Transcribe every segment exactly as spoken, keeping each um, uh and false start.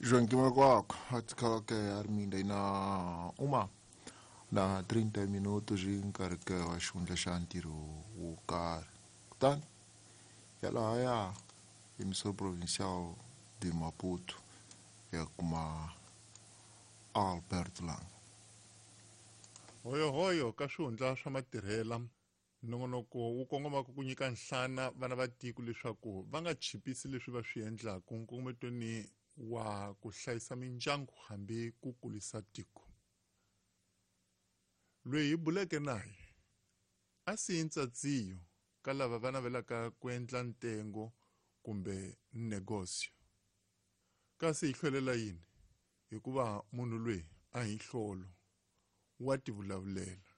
Joaquim Maguaco, até que Arminda na uma na trinta minutos nkarhi wa xihundla xa ntirho wo karhi kutani yalahaya emissão provincial de Maputo ya kuma Albert Lang. Hoyohoyo ka swihundla swa matirhela nongonoko wu kongomaka ku nyika nhlana vana va tiko leswaku va nga chipisi leswi va swi endlaku nkongometweni wa ku hlayisa mindyangu hambi ku kulisa tiko. Loyi hi buleke naye a siyi ntsatsiyo ka lava va navelaka ku endla ntengo kumbe negosio. Kasi hi hlwelela yini? Hikuva munhu loyi a hi nhlolo wa tivulavulela.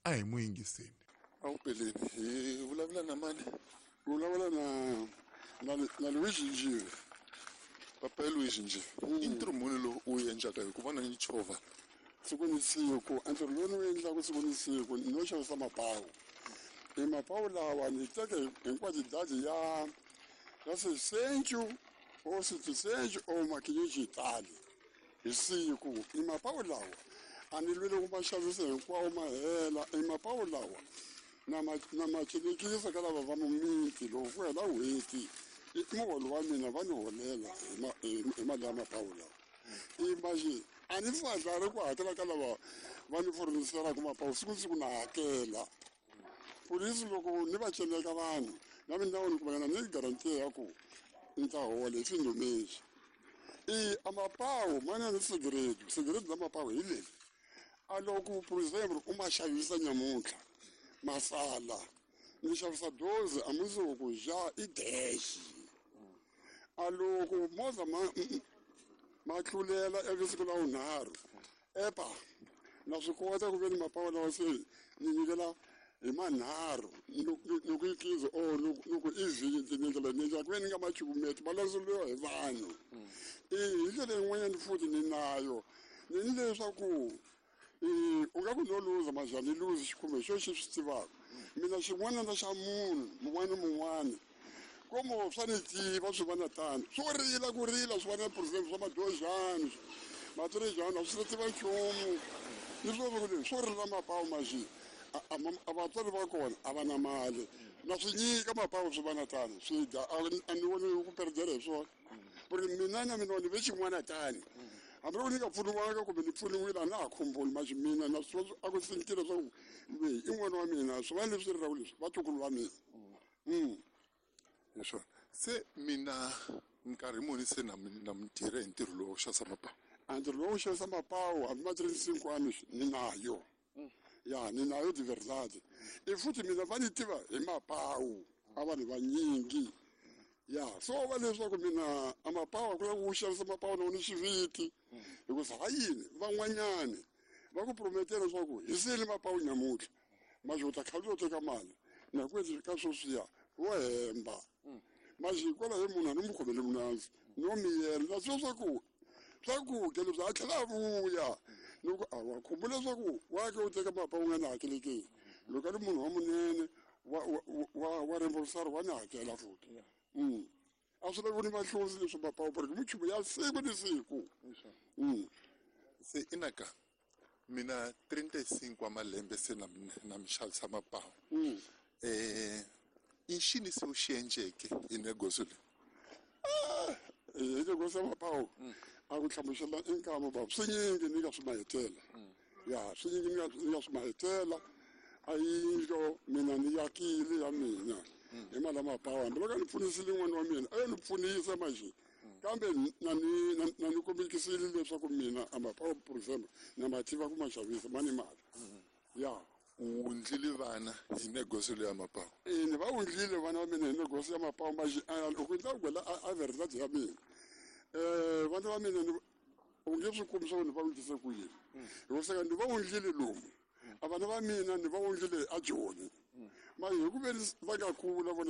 A hi n'wi yingiseni. Awupeleni hi vulavula na mani? Vulavula na na na Luigi Njive. Papa Luigi Njive. I ntirho muni lowu u wu endlaka hi ku vona ni chovha? Siku ni siku, ntirho lowu ni wu endlaka siku ni siku no xavisa mapawu. I mapawu lawa ni teke hinkwato dazi ya ya seiscentos ou setecentos ou ma quinhentos e tal hi siku. I mapawu lawa a ni lwele ku ma xavisa hinkwawo ma hela. I mapawu lawa na ma na ma celekisa ka lava va mumiti loko ku hela n'hweti i muholo wa mina va ni holela hi ma hi mali ya mapawu lawa. Imagine a ni fadlari ku hakela ka lava va ni furniseraka mapawu siku ni siku na hakela. Polisi loko ni va celeka vanhu na mina ni kumanyana ni garantiya ya ku ni ta hola hi swindomexi. I a mapawu ma na ni segredo, segredo la mapawu hi leri. A loko por exemplo u ma xavisa nyamuntlha masala ni xavisa doze a mundzuku ja i dez. A loko movha ma ma tlulela ivi siku la vunharhu epa na swi kota ku ve ni mapawu lawa se ni nyikela hi manharhu ni ku i quinze or ni ku i vinte ni ndlela ni endlela ku ve ni nga ma cukumeti ma landzeriwa hi vanhu. I hi ndlela yin'wanyana futhi ni nayo ni ni leswaku u nga ku no luza maja ni luzi xikhume xo xi swi tivaka mina xin'wana na xa munhu mun'wana ni mun'wana como swa ni tiva swi va na tano swo rila ku rila swi va na percent swa madozhani matirejani a swi tiva nchumu ni swo ku leswi swo rila mapawu maxi a vatswari va kona a va na mali na swi nyika mapawu swi va na tano swi dya a ni voni ku perdela hi swona ku ri mina na mina ni ve xin'wana tani hambi loko ni nga pfuniwanga kumbe ni pfuniwile a na ha khumbuli maxi mina na swi a ku sentile leswaku loyi i n'wana wa mina swi va leswi rilaka leswi vatukulu va mina. Hi swona se mina nkarhi muni se na na mi tirha hi ntirho lowu wo xavisa mapawu? A ntirho lowu wo xavisa mapawu hambi ma trente-cinco anos ni nayo. Ya ni nayo de verdade. I futhi mina va ni tiva hi mapawu a vanhu vanyingi. Ya so va leswaku mina a mapawu ku lava ku xavisa mapawu na ni xiviti hikuva ha yini van'wanyani va ku prometela leswaku hi sele mapawu nyamuntlha maxi u ta kha u teka mali na ku endla ka sweswiya wo hemba maxi hikwalaho hi munhu a ni mu khomele munandzu no miyela na swi leswaku swakudya leswi a tlhela a vuya ni ku a wa khumbula leswaku wa ke u teka mapawu u nga ni hakelekeni loko a ri munhu wa munene wa wa wa reembursar wa ni hakela futhi. A swi lavi ni mahlonzi leswi mapawu porque minchumu ya siku ni siku. Se inaka mina trinta e cinco wa malembe se na na mi xavisa mapawu. Eh i xini se u xi endleke hi negosio leyi? Hi negosio ya mapawu a ku hlamusela i nkama bava swi nyingi ni nga swi mahetela. Ya swi nyingi ni nga ni nga swi mahetela a yindlo mina ni yakile ya mina hi mali ya mapawu hambi loko a ni pfunisile n'wana wa mina a yo ni pfunisa maxi kambe na ni na ni kombekisile leswaku mina a mapawu por exemple na ma tiva ku ma xavisa ma ni mali. Ya u wundlile vana hi negosio leyi ya mapawu? E ni va wundlile vana va mina hi negosio ya mapawu maxi loko ni ta ku gwela a verdade ya mina um vana va mina u nge swi kumi swa ku ni va wundlise ku yini hikuva seka ni va wundlile lomu a vana va mina ni va wundlile a Joni ma hi ku ve ni va nga kula vona.